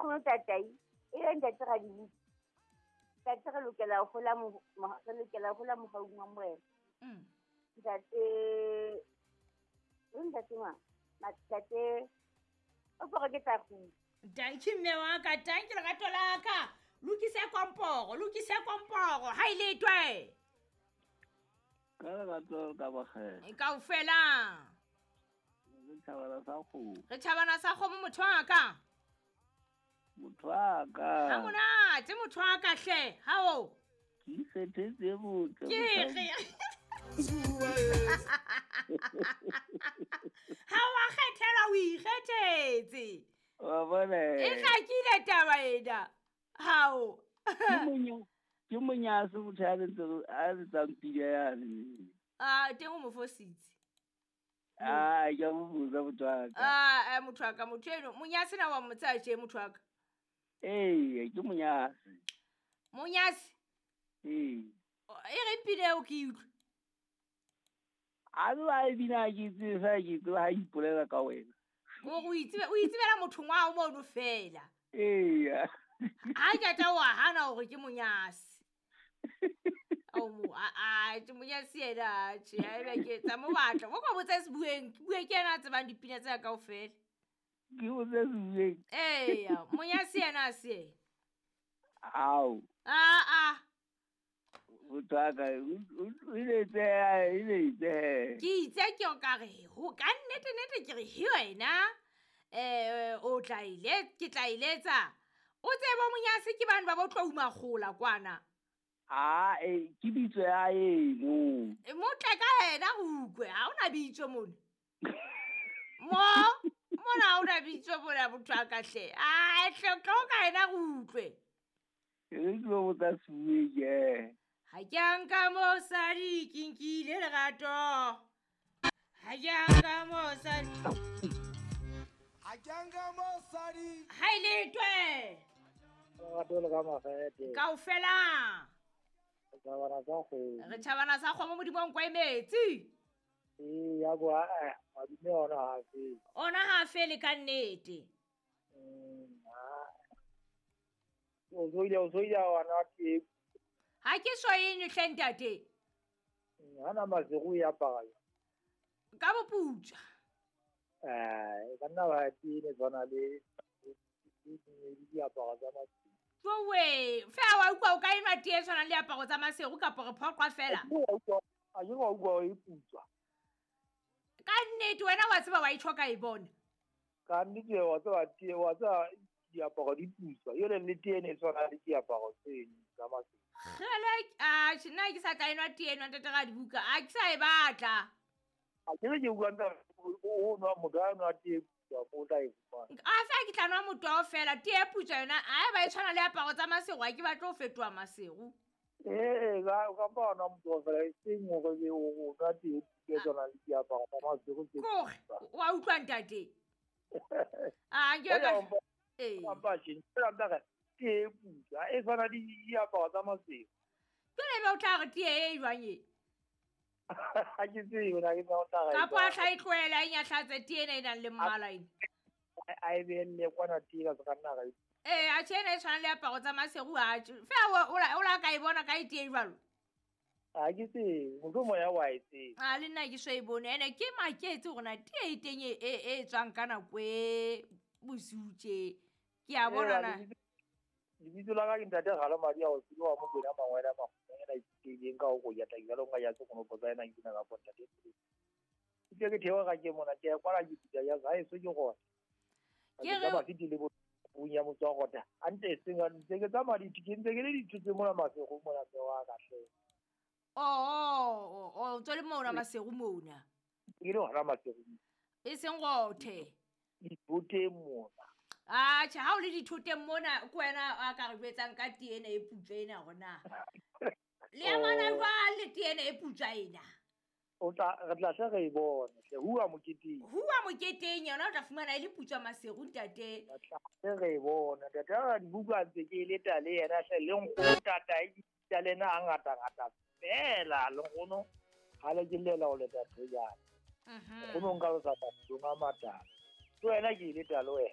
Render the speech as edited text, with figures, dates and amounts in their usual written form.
Nkgono Tatai, e le ntate Radibuka. Ntate re lokela ho hola re lokela ho hola mohaung wa Morena. Ntate, o ntate mang? Ntate, o pore ke tla kgutla. Danki mme wa ka, danki lerato la ka. Lokise komporo, lokise komporo, ha ile twe. Ka lerato ka bokgele. Kaofela. Re thabana sa kgomo. Re thabana sa kgomo motho wa ka. Motho wa ka. Ha monate motho wa ka hle, ha o. Ke ikgethetse botle. Ke re. Ha wa kgethela o ikgethetse. Wa bona. E hlakile taba ena. Hao. Ke monyase motho a letsang pina yane. Ah, teng o mo fositse. Ah, ke a mo botsa motho wa ka. Ah, motho wa ka, motho eno, monyase na wa mo tsaya tje motho wa ka? Ee, ke monyase. Monyase? Ee. E reng pina eo ke utlwe? A be ba e bina ke tsebe fela ke tsebe ha ipolela ka wena. Gore o itsebela motho ngwao mono fela. Ee. Ha ke tla wa hana hore ke monyase. O mo a ke monyase yena tje, ha ebe ke tsa mo batla. Mo ka botsa se bueng, ke bue ke yena a tsebang dipina tsa kaofela. Ke botsa se bueng. Ee, monyase yena a se yena. Ao. A. Motho wa ka, o ile itse. Ke itse ke o ka re, ho ka nnete nnete ke re he wena. O tla ile, ke tla iletsa. O tsebe monyase ke bana ba bo tlo uma kgola kwana. Ah, ke bitso ya eno. Mo tle ka yena go utlwe, ha ona bitso mona. Mo, mona ha ona bitso mona motho wa ka hle. Ah, hle tlo ka yena go utlwe. Re tlo botsa Sebueng ke. Ha ke a nka mosadi ke nkile lerato. Ha ke a nka mosadi. Ha ke a nka mosadi. Ha ile twe. Lerato le ka makgethe. Kaofela. Re thabana sa kgomo. Re thabana sa kgomo Modimo wa nkwa e metsi. Ee, ya bo madume ona ha fele. Ona ha fele ka nnete. O zoile wa nwa tee. Ha ke so eng hle ntate? Ha na masego e apara jwang? Ka boputswa. Ka nna ba tee ne tshwana le diaparo tsa masego. Jowe, fe wa utlwa o ka enwa tee e tshwanang le diaparo tsa masego kapa re phoqwa fela? A ke wa utlwa e putswa. Ka nnete wena wa tseba wa itjho ka e bona. Ka nnete wa tseba tee, wa tseba diaparo di putswa. Yole le tee ne tshwana le diaparo tse tsa masego. Kgele, a nna ke sa tla enwa tee enwa ntate Radibuka, a ke sa e batla. A ke re ke utlwa ntate o nwa motho a nwa tee putswa o tla e fumana. A fa ke tla nwa motoho fela, tee putswa yona, a ba e tshwana le aparo tsa masego, ha ke batle ho fetoha masego. Ee, ka mpa wa nwa motoho fela, e seng hore o nwa tee putswa e tshwana le diaparo tsa masego tse Kore, wa utlwa ntate? A ke ka ee. Mpa tjhe, ntate tee putswa e tshwana le diaparo tsa masego. Jwale ebe o tla re tee e jwang e? Ha ke tsebe na ke tla o tla re. Kapa a tla e tlohela e nyahlatse tee ena e nang le mmala ena. A e behelle kwana tee ka se ka nna ra e. Ee, a tjhe ena e tshwana le diaparo tsa masego ha tjhe. Feela o la ka e bona ka e tee jwalo? Ha ke tsebe, mohlomong ya wa e tseba. A le nna ke so e bone. Ene ke maketse hore na tee e teng e tswang ka nako e bosiu tje. Ke a bona na. Lebitso la ka ke ntate Galo Madi a o tsile wa Mokwena Mangwele a Makgomeng ena ithutile ka ho koyata jwalo nka ya tsokonopo tsa ena ke na ka ponta teng. Ke ke theoha ka ke mona ke ya kwala ke pitsa ya ha eso ke gona. Ke re ba fitile bo bunya motho wa gota. A ntse seng a ntse ke tsamaya di ke ntse ke le dithutse mona masego mona se wa ka hle. Oh, tswele mona masego mona. Ke le hona masego. E seng gothe. Dithoteng mona. Ah, tjhe, ha o le dithoteng mona ke wena a ka re jwetsang ka tee ena e putswa ena hore na. Le amana jwang le tee ena e putswa ena? O tla re tla hle re e bone hle, hua moketeng. Hua moketeng yona o tla fumana e le putswa masego ntate. Re tla hle re e bone ntate. Ha dibuka ntse ke leta le yena hle le nkgono tata e tla le ena a ngata ngata fela le nkgono ha le ke lela ho leta thojana. Nkgono nka lo tsa batho a matala. Ke wena ke leta le wena.